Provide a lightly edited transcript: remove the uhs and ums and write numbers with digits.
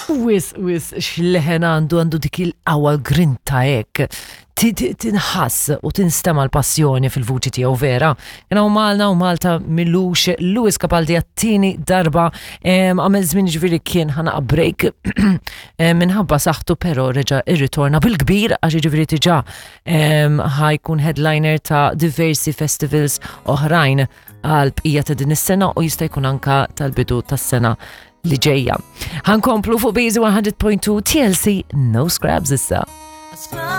Wis, wis, x'leħen għandu għandu dik il-qawwa l-grinta hekk. Tinħass u tinstema l-passjoni fil-vuċi tiegħu vera. Kien hawn Malna u Malta milux Louis Capaldi għat-tieni darba għamel żmien ġifieri kien ħanaqa break minħabba saħħtu però reġa' irritorna bil-kbir għax ġifieri diġà ħajkun headliner ta' diversi festivals oħrajn għal bqija ta' din is-sena u jista' jkun anka tal-bidu tas-sena li ġejja. Ħankomplu fuq Bizi 100.2 TLC No Scrabs issa.